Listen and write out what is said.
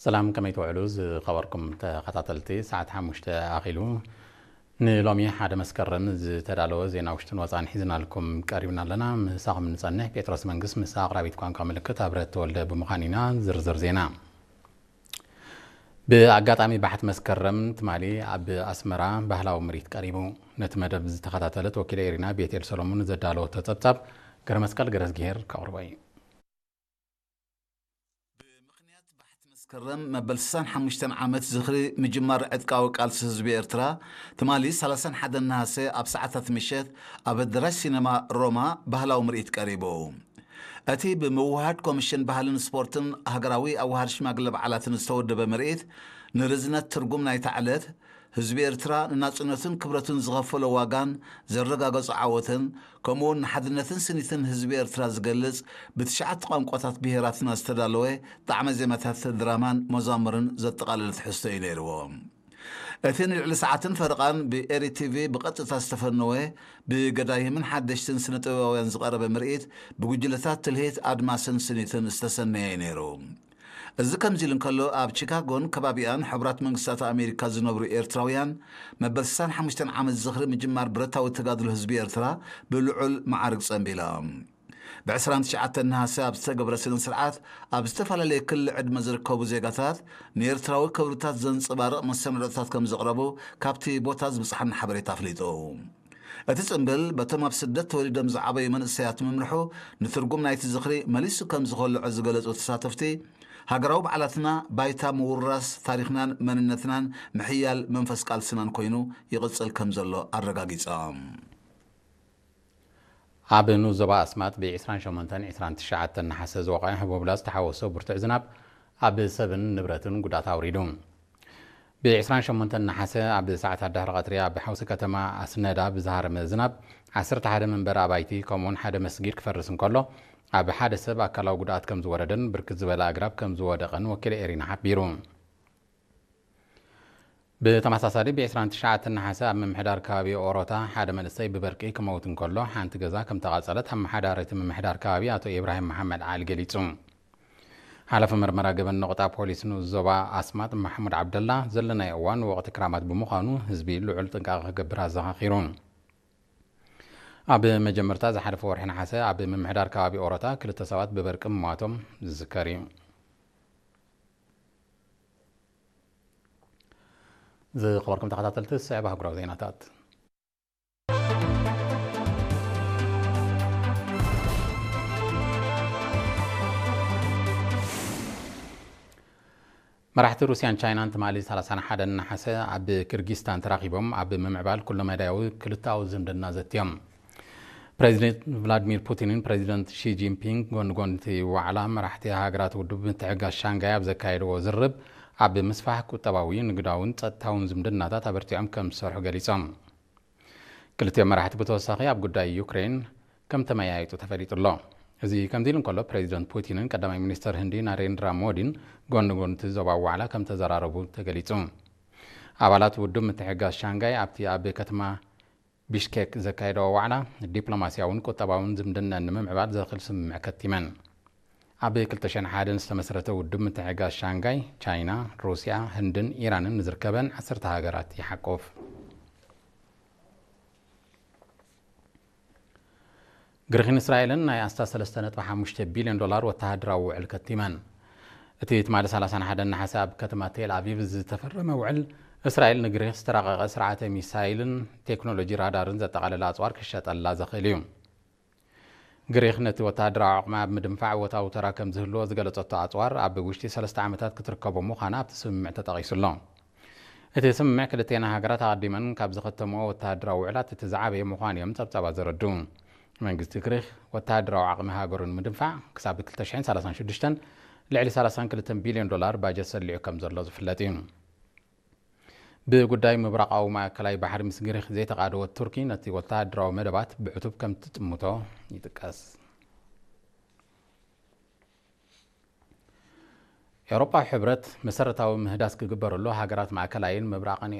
ሰላም፣ ከመይ ትውዕሉ ዝኸበርኩም ተኸታተልቲ? ሰዓት ሓሙሽተ ኣኺሉ። ንሎሚ ሓደ መስከረም ዝተዳለወ ዜና ውሽጥን ወፃን ሒዝናልኩም ቀሪብና ኣለና። ምሳኹም ንፀንሕ። ጴጥሮስ መንግስት ምስ ኣቕራቢት ቋንቋ ምልክት ኣብረት ተወልደ ብምዃን ኢና። ዝርዝር ዜና። ብኣጋጣሚ ባሕቲ መስከረም ትማሊ ኣብ ኣስመራ ባህላዊ ምርኢት ቀሪቡ። ነቲ መደብ ዝተኸታተለት ወኪለ ኤሪና ቤቴል ሰሎሙን ዘዳለወቶ ጸብጻብ ገረመስቀል ገረዝግሄር ከቕርቦ እዩ። ብምኽንያት ባሕቲ መስከረም መበል ስሳን ሓሙሽተን ዓመት ዝኽሪ ምጅማር ዕጥቃዊ ቃልሲ ህዝቢ ኤርትራ፣ ትማሊ ሰላሳን ሓደን ነሃሰ ኣብ ሰዓታት ምሸት ኣብ ኣደራሽ ሲነማ ሮማ ባህላዊ ምርኢት ቀሪቡ። እቲ ብምውሃድ ኮሚሽን ባህልን ስፖርትን ሃገራዊ ኣዋሃድ ሽማግለ በዓላትን ዝተወደበ ምርኢት፣ ንርዝነት ትርጉም ናይታ ዕለት፣ ህዝቢ ኤርትራ ንናጽነቱን ክብረቱን ዝኸፈሎ ዋጋን ዘረጋገጾ ዓወትን፣ ከምኡውን ንሓድነትን ስኒትን ህዝቢ ኤርትራ ዝገልጽ ብትሽዓተ ቋንቋታት ብሄራትና ዝተዳለወ ጣዕመ ዜማታት ድራማን መዛሙርን ዘጠቓለለ ትሕዝቶ እዩ ነይርዎ። እቲ ንልዕሊ ሰዓትን ፈረቓን ብኤሪ ቲቪ ብቐጥታ ዝተፈነወ፣ ብገዳይምን ሓደሽትን ስነ ጥበባውያን ዝቐረበ ምርኢት፣ ብጉጅለታት ትልሂት ኣድማስን ስኒትን ዝተሰነየ እዩ ነይሩ። እዚ ከምዚ ኢሉ እንከሎ፣ ኣብ ቺካጎን ከባቢኣን ሕቡራት መንግስታት ኣሜሪካ ዝነብሩ ኤርትራውያን፣ መበል ስሳን ሓሙሽተን ዓመት ዝኽሪ ምጅማር ብረታዊ ተጋድሎ ህዝቢ ኤርትራ ብልዑል መዓርግ ጸንቢሎም። ብ ዕስራን ትሽዓተን ነሃሰ ኣብ ዝተገብረ ስነ ስርዓት፣ ኣብ ዝተፈላለየ ክሊ ዕድመ ዝርከቡ ዜጋታት ንኤርትራዊ ክብርታት ዘንጸባርቕ መሰናዶታት ከም ዘቕረቡ ካብቲ ቦታ ዝብጽሓና ሓበሬታ ኣፍሊጡ። እቲ ጽምብል በቶም ኣብ ስደት ተወሊዶም ዝዓበዩ መንእሰያት ምምርሑ፣ ንትርጉም ናይቲ ዝኽሪ መሊሱ ከም ዝኸልዖ ዝገለጹ ተሳተፍቲ፣ ሃገራዊ በዓላትና ባይታ ምውርራስ ታሪኽናን መንነትናን ምሕያል መንፈስ ቃልስናን ኮይኑ ይቕጽል ከም ዘሎ ኣረጋጊጾም። ኣብ ንኡስ ዞባ ኣስማጥ ብ ዕስራን ሸሞንተን ዕስራን ትሽዓተን ነሓሰ ዝወቐዐ ህቦብላ ዝተሓወሶ ብርቱዕ ዝናብ ኣብ ሰብን ንብረትን ጉድኣት ኣውሪዱ። ብ ዕስራን ሸሞንተን ነሓሰ ኣብ ሰዓታት ድሕሪ ቀትሪ ኣብ ሓውሲ ከተማ ኣስነዳ ብዝሃረመ ዝናብ ዓሰርተ ሓደ መንበሪ ኣባይቲ ከምኡውን ሓደ መስጊድ ክፈርስ እንከሎ፣ ኣብ ሓደ ሰብ ኣካላዊ ጉድኣት ከም ዝወረደን ብርክት ዝበለ ኣግራብ ከም ዝወደቐን ወኪል ኤሪና ሓቢሩ። ብተመሳሳሊ ብ ዕስራን ትሽዓተን ነሓሰ ኣብ ምምሕዳር ከባቢ ኦሮታ ሓደ መንእሰይ ብበርቂ ክመውት እንከሎ፣ ሓንቲ ገዛ ከም ተቓጸለት ኣመሓዳሪ እቲ ምምሕዳር ከባቢ ኣቶ ኢብራሂም መሓመድ ዓሊ ገሊጹ። ሓላፊ መርመራ ገበን ነቑጣ ፖሊስ ንኡስ ዞባ ኣስማጥ ማሕሙድ ዓብደላ፣ ዘለናዮ እዋን ወቕቲ ክራማት ብምዃኑ ህዝቢ ልዑል ጥንቃቐ ክገብር ኣዘኻኺሩ። ኣብ መጀመርታ ዝሓለፈ ወርሒ ነሓሰ ኣብ ምምሕዳር ከባቢ ኦሮታ ክልተ ሰባት ብበርቂ ምሟቶም ዝዝከር እዩ። ዝኸበርኩም ተኸታተልቲ፣ ዝስዕብ ኣህጉራዊ ዜናታት። መራሕቲ ሩስያን ቻይናን ትማሊ ሰላሳን ሓደን ነሓሰ ኣብ ኪርጊስታን ተራኺቦም ኣብ ምምዕባል ኩለመዳያዊ ክልተኣዊ ዝምድና ዘትዮም። ፕሬዚደንት ቭላድሚር ፑቲንን ፕሬዚደንት ሺ ጂንፒንግ ጎኒ ጎኒ እቲ ዋዕላ መራሕቲ ሃገራት ውድብ ምትሕግጋዝ ሻንጋይ ኣብ ዘካየድዎ ዝርርብ፣ ኣብ ምስፋሕ ቁጠባዊ፣ ንግዳውን ጸጥታውን ዝምድናታት ኣበርቲዖም ከም ዝሰርሑ ገሊጾም። ክልቲኦም መራሕቲ ብተወሳኺ ኣብ ጉዳይ ዩክሬን ከም ተመያየጡ ተፈሊጡ ኣሎ። እዚ ከምዚ ኢሉ እንከሎ፣ ፕሬዚደንት ፑቲንን ቀዳማይ ሚኒስተር ህንዲ ናሬንድራ ሞዲን ጎኒ ጎኒ እቲ ዞባዊ ዋዕላ ከም ተዘራረቡ ተገሊጹ። ኣባላት ውድብ ምትሕግጋዝ ሻንጋይ ኣብቲ ኣብ ከተማ ቢሽኬክ ዘካየደዎ ዋዕላ፣ ዲፕሎማስያውን ቁጠባውን ዝምድና ንምምዕባል ዘኽእል ስምምዕ ከቲመን። ኣብ ክልተ ሽሕን ሓደን ዝተመስረተ ውድብ ምትሕግጋዝ ሻንጋይ፣ ቻይና፣ ሩስያ፣ ህንድን ኢራንን ንዝርከበን ዓሰርተ ሃገራት ይሓቁፍ። ግሪኽን እስራኤልን ናይ ኣስታት ሰለስተ ነጥቢ ሓሙሽተ ቢልዮን ዶላር ወተሃደራዊ ውዕል ከቲመን። እቲ ትማሊ ሰላሳን ሓደን ነሓሰ ኣብ ከተማ ቴል ኣቪቭ ዝተፈረመ ውዕል፣ እስራኤል ንግሪኽ ዝተራቐቐ ስርዓተ ሚሳይልን ቴክኖሎጂ ራዳርን ዘጠቓለለ ኣጽዋር ክሸጠላ ዘኽእል እዩ። ግሪኽ ነቲ ወተሃደራዊ ዓቕማ ኣብ ምድንፋዕ እወታዊ ተራ ከም ዝህልዎ ዝገለጸቶ ኣጽዋር፣ ኣብ ውሽጢ ሰለስተ ዓመታት ክትርከቦ ምዃና ኣብቲ ስምምዕ ተጠቒሱ ኣሎ። እቲ ስምምዕ ክልቴና ሃገራት ኣቐዲመን ካብ ዝኸተምኦ ወተሃደራዊ ውዕላት እቲ ዝዓበየ ምዃኑ እዮም ጸብጻባት ዘረድኡ። መንግስቲ ግሪኽ ወተሃደራዊ ዓቕሚ ሃገሩ ንምድንፋዕ ክሳብ ክልተ ሽሕን ሰላሳን ሽዱሽተን ልዕሊ ሰላሳን ክልተን ቢልዮን ዶላር ባጀት ሰሊዑ ከም ዘሎ ዝፍለጥ እዩ። ብጉዳይ ምብራቓዊ ማእከላይ ባሕሪ ምስ ግሪኽ ዘይተቓደወት ቱርኪ ነቲ ወተሃደራዊ መደባት ብዕቱብ ከም ትጥምቶ ይጥቀስ። ኤውሮጳዊ ሕብረት መሰረታዊ ምህዳስ ክግበረሉ ሃገራት ማእከላይን ምብራቕን